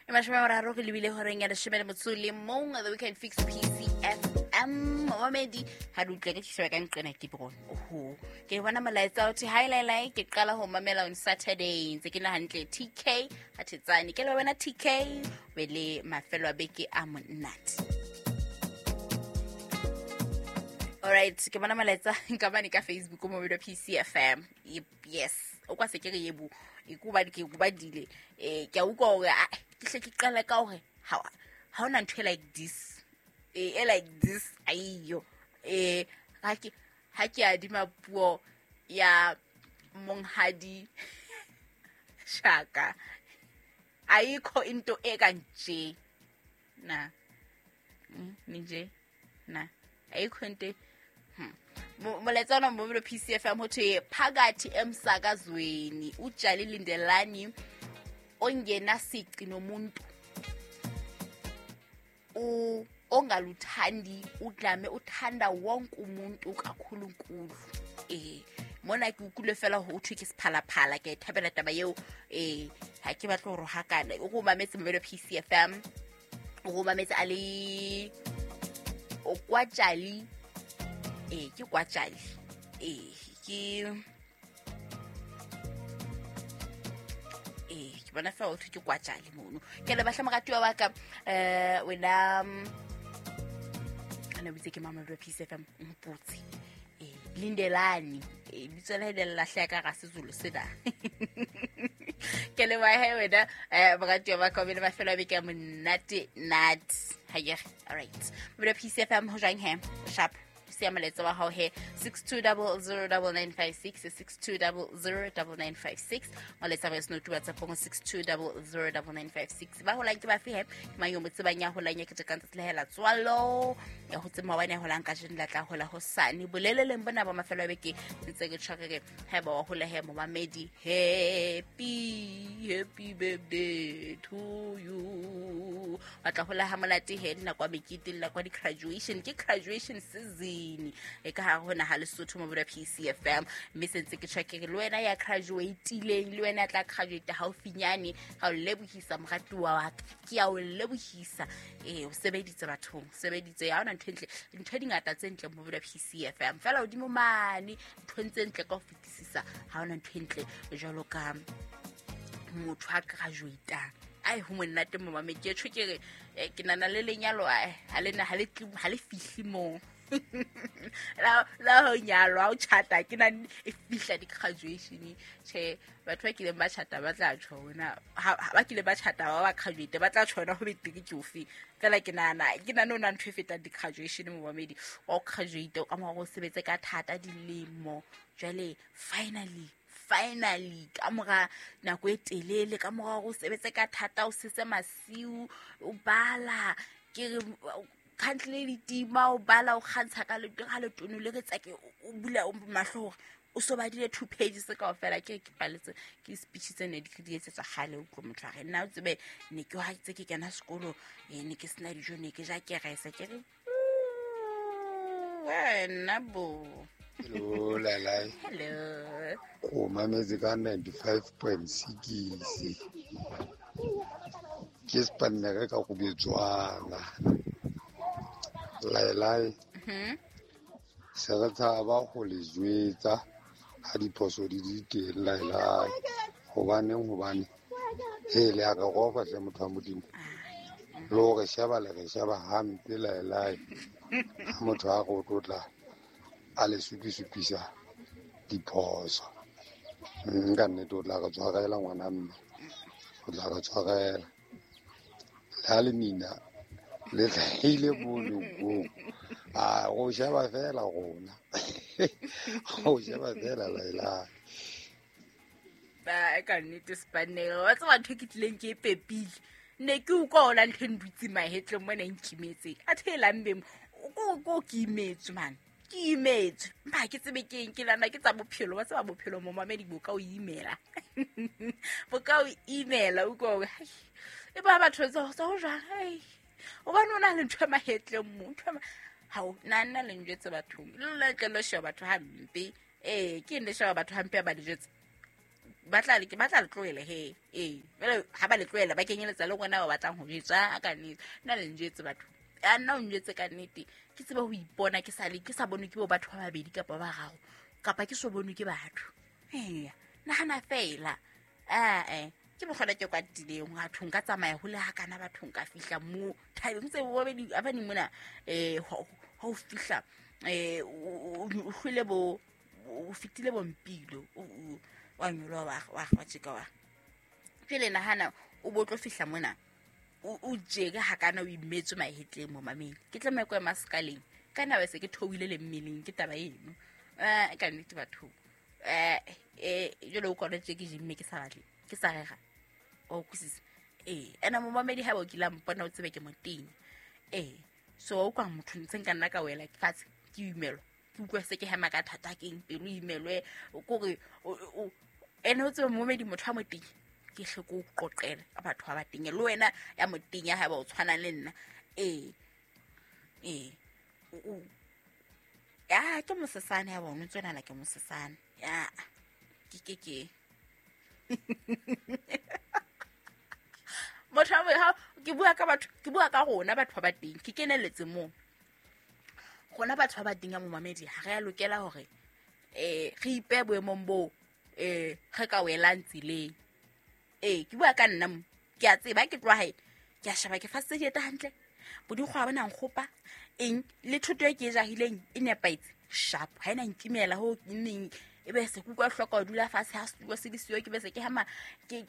E 30 re lebile horeng ya 11, The Weekend Fix PCFM. Momamedi, ha re utlwe ke tshwere ka nqena ke bron. Oho, ke bona molaetsa o thwe hi lai, ke qala ho mamela on Saturday, ntse ke na hantle TK ha thetsane. Ke le wena TK, be le mafelo a beke a monate. Alright, ke bona molaetsa nka bane ka Facebook mo video PCFM. Yes, o kwa se ke re yebo, e ku ba ke ku badile. Ke a utlwa hore ah, ke hle ke qala ka hore ha hona ntho e like this. E like this aiyo. Ha ke adima puo ya monghadi Shaka. Ayikho into ekanje. Na. Nje. Na. Ayikho into. Molaetsa ona mo PCFM ho thwe phakathi emsakazweni uJali Lindelani ongena sici nomuntu ongaluthandi udlame uthanda wonke umuntu kakhulunkulu. Mona ke utlwile fela ho thwe ke sephalaphala, ke thabela taba eo. Ha ke batle ho rohakana, o go mametse Mobelo PCFM, o go mametse a le o kwa Jali. Ke kwa Jali. Ke ke bona fela ho thwe ke kwa Jali mono. Ke le batla moratuwa wa ka, wena ana bitse ke mama wa PCFM mpotse. Lindelani, bitso la le lahleha ka ga Sezulu sena. Ke le wa he wena, moratuwa wa ka, o be le mafelo a beke a monate nat. Ha ye, all right. Mobelo PCFM ho jwang he? Sharp. Siya molaetsa wa hao he 62009956, 62009956. Molaetsa wa senotu WhatsApp go 62009956. Ba holang ke bafe he? Ke mang yo mo tsebang ya holang ya ketekang tsatsi la hae la tswalo? Ya ho tsema wa ne holang kajeno la tla hola hosane. Boleleleng bona ba mafelo a beke ntse ke tshware re ha ba wa hola he momamedi. Happy, happy birthday to you. Wa tla hola ha monate he, le nako ya mekete, le nako ya di-graduation. Ke graduation season e ka hare ho naha Lesotho mo PCFM. Mme se ntse ke tjho ke re le wena ya graduate-ileng, le wena ya tla graduate haufinyane, ka o lebohisa moratuwa wa ka. Ke a o lebohisa. O sebeditse bathong, sebeditse. Ha hona ntho e ntle, ntho di ngata tse ntle mo PCFM. Fela hodimo mane, ntho tse ntle ka ho fetisisa, ha hona ntho e ntle jwalo ka motho a graduate-ang. Ai, ho monate mo mame, ke tjho ke re, ke nana le lenyalo, ai, ha le na, ha le tle, ha le fihle moo. La ho nyalwa, ho tjhata, ke na e fihla di-graduation. Tjhe, batho ba kileng ba tjhata ba tla tjho hona, ha ba kile ba tjhata ba ba graduate, ba tla tjho hona ho betere ke ofe. Fela ke nahana, ke nahana ho na ntho e fetang di-graduation momamedi. Wa o graduate, ka mora hore o sebetse ka thata dilemo. Jwale, finally, finally, ka mora nako e telele, ka mora hore o sebetse ka thata, o setse masiu, o bala, ke re, country le ditima, o bala, o kgantsha ka ka letono le re tsake, o bula mahlo hore o so badile 2 pages kaofela. Ke re ke paletse, ke speech tse ne di di etsetswa kgale, o utlwe motho a re, nna o tsebe, ne ke ha tse ke kena sekolo, ne ke sena dijo, ne ke ja kerese. Ke re, wena bo. Hello, Lalai. Hello. Ko mametse ka 95.6. Ke spanne ka go betswana. Lalai. Se re tshaba go le jwetsa ha diphoso di di teng, Lalai. Hobaneng, hobane he le a re rofa hle motho wa Modimo. Le hore sheba le re sheba hampe, Lalai. Ha motho a re o tlotla a le supisupisa diphoso. Ka nnete o tla re tshwarela ngwana mme. O tla re tshwarela. Le ha le mina le hlahile mono koo. A go sheba fela rona. Go sheba fela, Lalai. Ba ka nnete spanel. Wa tseba ntho e ke tlileng ke e pepile. Ne ke utlwa ona ntho e ndutse mahetleng mona e nkimetseng. Athe e lambeng, ko ke imetswe man. Ke imetswe. Mpa ha ke tsebe ke eng, ke nahana ke tsa bophelo. Wa tseba bophelo momamedi bo ka o imela. Bo ka o imela, o utlwa hore, hai, e ba batho tsa ho jwang, hai. Hobane o na le ntho e mahetleng mo, ntho e hao, nna nna le njwetse bathong. Le lona le tlohelle ho sheba batho hampe. Ke eng le sheba batho hampe ha ba le jwetse? Ba tla le tlohela he. Ee, jwale ha ba le tlohela ba kenyeletsa le rona ba batlang ho jwetsa ka nnete. Nna le njwetse batho. A nna o njwetse ka nnete. Ke tsebe ho ipona ke sa le ke sa bonwe ke bo batho ba babedi kapa ba bararo kapa ke so bonwe ke batho. Eya, nahana fela. Ee, ke mokgona ke kwatileng bathong ka tsamaya hole hakana bathong ka fihla moo thabeng tse bobedi abane mona ha o fihla o hlwele bo o fitile bompilo wa nyoloha wa tjeka wa jwale nahana o bo tlo fihla mona o jeke hakana o imetswe mahetleng mo mameng ke tlameha ko ema sekaleng ka nna se ke theohile le mmeleng ke taba eno ka nnete bathong jwale o kwana tje ke jimme ke sa batle ke sa rera o utlwisisa. Ee, ena momamedi ha ba o kile mpona o tsebe ke motenya. Ee, so o kwa motho ntse nka nna ka wela fatshe ke imelwa ke utlwa se ke hema ka thata ke eng pelo imelwe kore ene o tsebe momamedi motho wa motenya ke hle ko qoqela ka batho ba batenya le wena ya motenya ha ba o tshwana le nna. Ee, ee, ya ke mosesane ya bona o tswenala ke mosesane ya ke motho ha ke bua ka batho ke bua ka rona batho ba bateng ke keneletse moo rona batho ba bateng ya momamedi ha re a lokela hore re ipe boemong boo re ka welang tseleng. Ee, ke bua ka nna mo ke a tseba ke tloha hae ke a sheba ke fasitse dieta hantle bodikgwa ba nang kgopa eng le thoto e ke e jahileng e nepahetse sharp ha ena nkimela ho neng e be se kuka hloka ho dula fatshe ha setulo se le siyo ke be se ke hama ke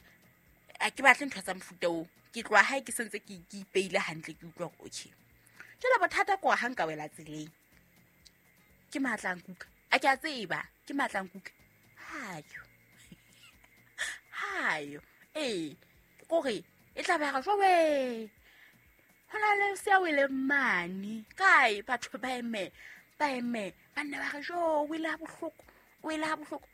a ke batle ntho tsa mofuta oo ke tloha hae ke sentse ke ipeile hantle ke utlwa hore okay jwale bothata ko ha nka wela tseleng ke matla nkuka a ke a tseba ke matla nkuka hayo hayo ee kore e tla ba ga jwa hona le se a wele mane kae batho ba eme ba nne ba re jo o ile ha bohloko o ile ha bohloko.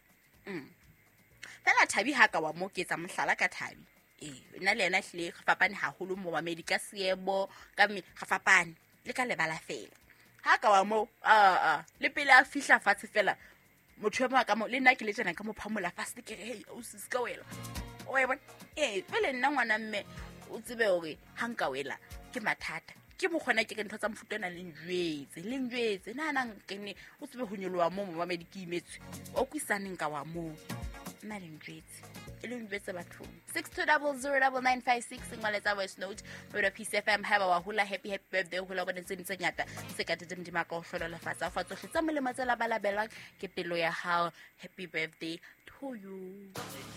Fela Thabi ha ka wa mo ke etsa mohlala ka Thabi. Ee, nna le yena hlile re fapane haholo mo mamedi ka seemo ka mme re fapane le ka lebala fela. Ha ka wa mo le pele a fihla fatshe fela motho e ka mo le nna ke le tjena ka mo phamola fatshe ke re hey o se ka wela. O e bona? Ee, pele nna ngwana mme o tsebe hore ha nka wela ke mathata. Ke mokgona ke re ntho tsa mofuta ona le njwetse nna ke ne o tsebe ho nyoloha moo momamedi ke imetswe o kwisaneng ka wa moo nna le njwetse e le njwetse bathong. 62009956 ngwaletsa voice note mo Peace FM ha ba wa hola happy birthday hola bona tse ntse ngata se ka tete modimo ka o hlola lefatshe fa tsohle tsa molemo tse labalabelwang ke pelo ya hao. Happy birthday to you.